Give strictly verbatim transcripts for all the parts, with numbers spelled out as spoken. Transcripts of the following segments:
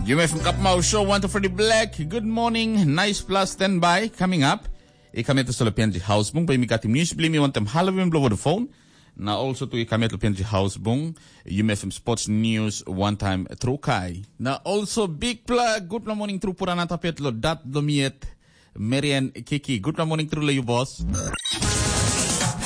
Yumi FM Kapmau Show, one to Freddy Black. Good morning. Nice plus standby coming up. I kam yet tasol P N G House Bung, bai mi katim news bli mi wantem Halloween blo Vodafone. Na also tu i kam yet lo P N G House Bung, Yumi FM Sports News one time tru kai. Na also big pla, good pla morning tru pura na tapet lo dat lo miet. Marian Kiki, good pla morning tru lo you boss.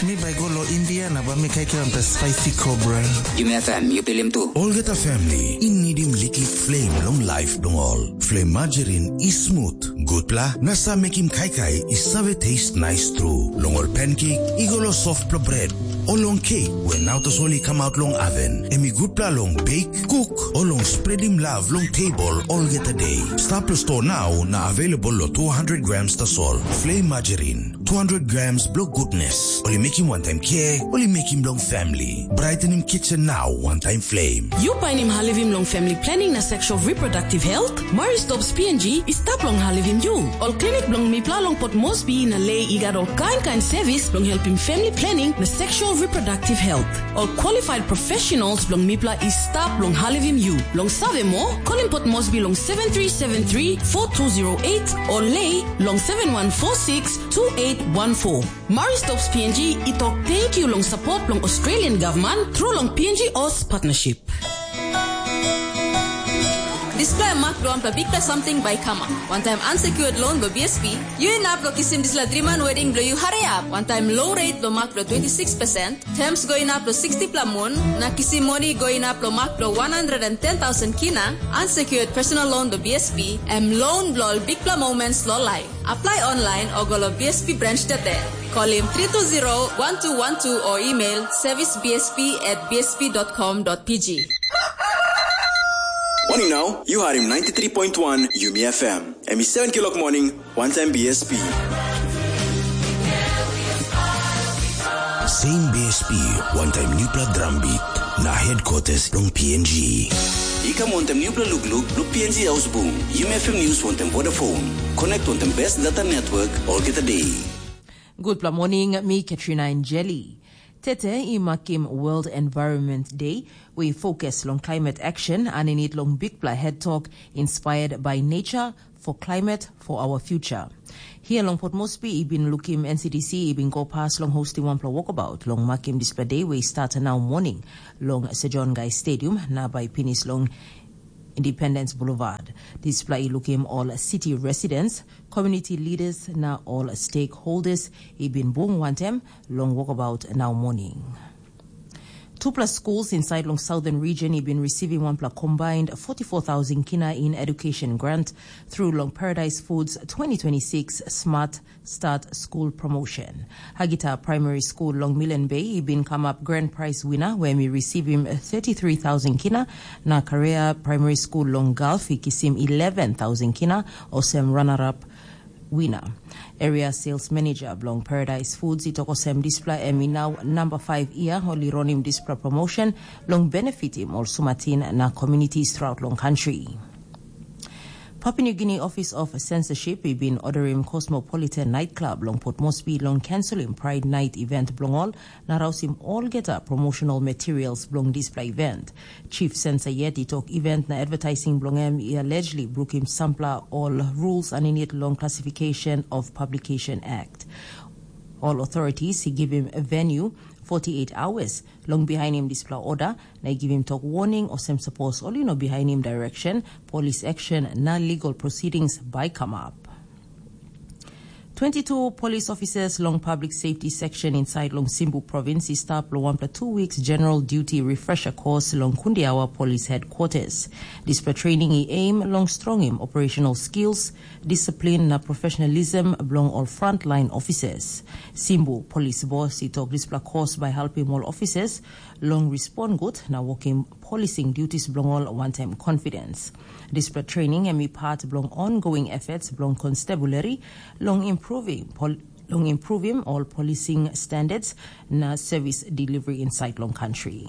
Mi bai go lo India na ba mi kaikai on the spicy cobra. Yumi FM, you pilim tu. Olgeta family, i nidim liklik flame long life dong all. Flame margarine is smooth, good pla, na sa mekim kaikai i save taste nice tru. Long ol pancake, i go lo soft pla bread. O long cake, we now tasol i come out long oven. Em i good pla long bake, cook, o long spreadim love long table olgeta day. Stap lo store now na available lo two hundred grams tasol. Flame margarine, two hundred grams blo goodness. Oli making one time care, oli making long family. Brightening kitchen now, one time flame. You painim halivim long family planning na sexual reproductive health? Murray Stops P N G i stap long halivim you. Ol klinik bilong mipla long Port Moresby na Lei i gat ol kain kain sevis bilong helpim family planning na sexual reproductive health. Ol qualified professionals bilong mipla i stap long halivim you. Long save moa, kolim Port Moresby long seven three seven three four two zero eight o Lei long seven one four six two eight one four. Murray Stops P N G i tok thank you long support bilong Australian government through long P N G Oz partnership. Dispela mak bilong wanpela bikpela samting bai i kamap. Wantaim unsecured loan bilong B S P, yu inap long kisim dispela driman wedding bilong yu hariap. Wantaim low rate bilong mak bilong twenty six percent, terms go inap long sixty pela mun, na kisim moni go inap long mak bilong one hundred and ten thousand kina, unsecured personal loan bilong B S P, em loan bilong ol bikpela moments long life. Apply online o go long B S P branch today. Call him three two zero one two one two or email service B S P at B S P dot com dot P G. Morning now, you are in ninety-three point one Yumi F M. Em i seven kilok morning, one time B S P. Same B S P, one time Newpla Drum Beat, na headquarters long P N G. I kam wantaim nupela lukluk bilong P N G Haus Bung, Yumi F M News wantaim Vodafone. Connect wantaim best data network olgeta day. Gutpela morning, mi Katrina Njeli. Tete i makim World Environment Day, we focus long climate action, aninit long bikpela head talk inspired by nature for climate for our future. Here long Port Moresby, i bin lukim N C D C i bin go pas long hosting wanpela walkabout long makim dispela day we i start nau morning long Sir John Guy Stadium na bai pinis long Independence Boulevard. Dispela i lukim ol city residents, community leaders na ol stakeholders i bin bung wantem long walkabout nau morning. Tupela schools inside long Southern Region i bin receiving wanpela combined forty-four thousand kina in education grant through long Paradise Foods twenty twenty-six Smart Start School Promotion. Hagita Primary School long Milen Bay i bin kamap grand prize winner, where mi receiving thirty-three thousand kina, na Korea Primary School long Gulf i kisim eleven thousand kina, osem runner-up winner. Area sales manager bilong Paradise Foods i tok olsem dispela em i nau namba five year ol i ronim dispela promotion long benefitim ol sumatin na communities throughout long country. Papua New Guinea Office of Censorship i bin orderim Cosmopolitan Night Club long Port Moresby long cancelim Pride Night event bilong ol na rausim olgeta promotional materials bilong dispela event. Chief Censor yet i tok event na advertising bilong em i allegedly brukim sampela ol rules aninit long Classification of Publication Act. All authorities i givim venue forty-eight hours long bihainim dispela order na i givim tok warning olsem sapos ol i no bihainim direction, police action na legal proceedings bai kamap. Twenty-two police officers long public safety section inside long Simbu province i stap long wanpela two weeks general duty refresher course long Kundiawa Police Headquarters. Dispela training i aim long strongim operational skills, discipline na professionalism bilong ol frontline officers. Simbu police boss i tok dispela course bai helpim ol officers long respond gut na wokim policing duties bilong ol wantaim confidence. Dispela training em i part bilong ongoing efforts bilong constabulary long improving pol long improving ol policing standards na service delivery inside long country.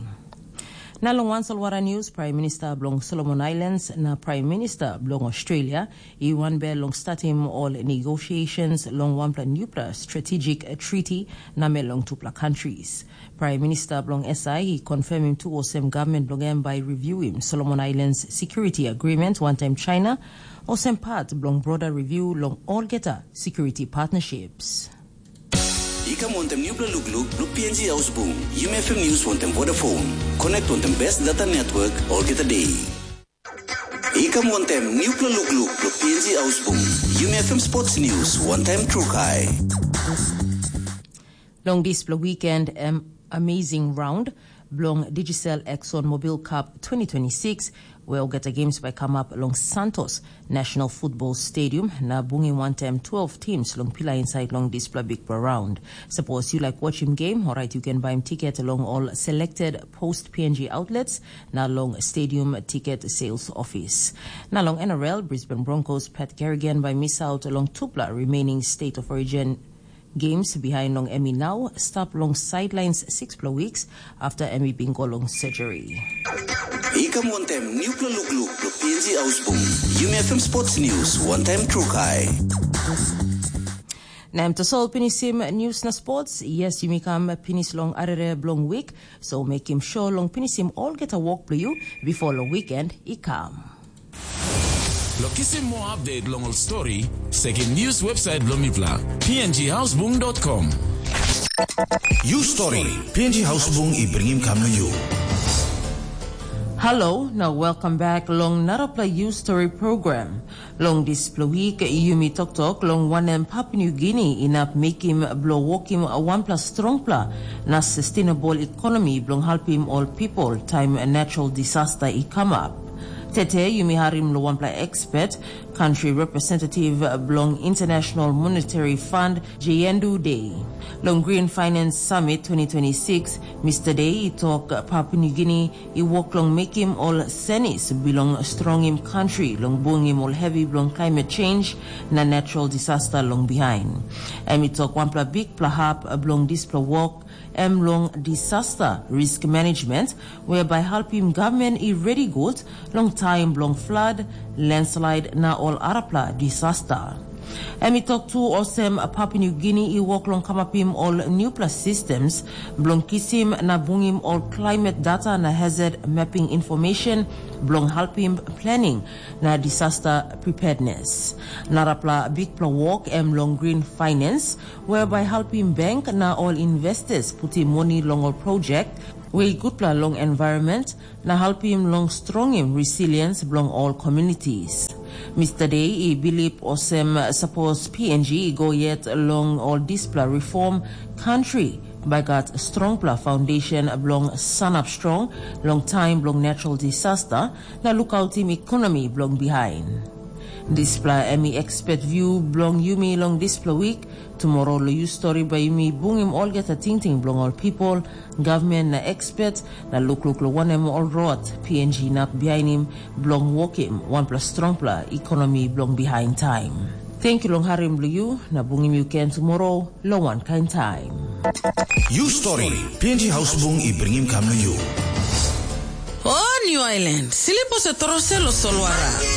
Na long wan solwara news, Prime Minister bilong Solomon Islands na Prime Minister bilong Australia i wanbel long statim ol negotiations long wanpela newpela strategic treaty namel long tupela countries. Prime Minister bilong S I i confirmim tu olsem government bilong em bai reviewim Solomon Islands Security Agreement wantaim China, olsem part bilong broader review long olgeta security partnerships. I kam wantaim nupela lukluk bilong P N G Haus Bung, Yumi F M News wantaim Vodafone. Connect wantaim best data network olgeta day. I kam wantaim nupela lukluk bilong P N G Haus Bung, Yumi F M Sports News wantaim Trukai. Long dispela weekend, em amazing round bilong Digicel Exxon Mobil Cup twenty twenty-six, where olgeta games bai come up along Santos National Football Stadium na bungim wantaim twelve teams long pila inside long dispela big round. Suppose you like watching game, alright, you can buy ticket along all selected post P N G outlets na long stadium ticket sales office. Na long N R L, Brisbane Broncos Pat Kerrigan by miss out along tupla remaining state of origin games behind long Emmy now stop long sidelines six weeks after Emmy bingo long surgery. I kam wantaim nupela lukluk bilong P N G Haus Bung, Yumi F M Sports News wantaim Trukai. Na em tasol pinisim news na sports. Yes, yumi kam pinis long arere bilong week, so mekim sure long pinisim olgeta wok bilong you before long weekend i kam. Lo kisim more update long ol story, sekim news website bilong mipela, P N G Housebung dot com. You story, P N G Housebung i bringim kam na you. Hello, now welcome back long narapla You Story program. Long dispela week, yumi toktok long wanem Papua New Guinea inap mekim bilong wokim wanpela strongpela na sustainable economy bilong helpim ol people time natural disaster i come up. Tete yumi harim lo wanpela expert, country representative bilong International Monetary Fund, Jayendu Day. Long Green Finance Summit twenty twenty-six, Mister Day i tok Papua New Guinea i wok long mekim ol senis bilong strongim kantri long bungim ol hevi bilong climate change na natural disaster long bihain. Em i tok wanpela bikpela hap bilong dispela wok em long disaster risk management, whereby helpim government i ready gut long taim bilong flood, landslide na ol arapela disaster. Em i tok tu olsem Papua New Guinea i wok long kamapim ol newpela systems bilong kisim na bungim ol climate data na hazard mapping information bilong helpim planning na disaster preparedness. Narapela bikpela wok em long green finance, whereby helpim bank na ol investors putim moni long ol project we i gutpela long environment na helpim long strongim resilience bilong ol communities. Mister Day i bilip olsem sapos P N G i go yet long ol dispela reform, country bai gat strongpela foundation bilong sanap strong long taim bilong natural disaster na lukautim ekonomi bilong bihain. Dispela em i expert view bilong yumi long dispela week. Tumora long yu stori bai yumi bungim olgeta tingting bilong ol pipel, gavman na expert, na lukluk long wanem ol rot P N G inap bihainim bilong wokim wanpela strongpela ekonomi bilong bihain taim. Tenkyu long harim bilong yu, na bungim yu ken tumora long wankain taim. Yu stori, P N G Hausbung i bringim kam long yu. O New Island, slip o se trose lo solwara.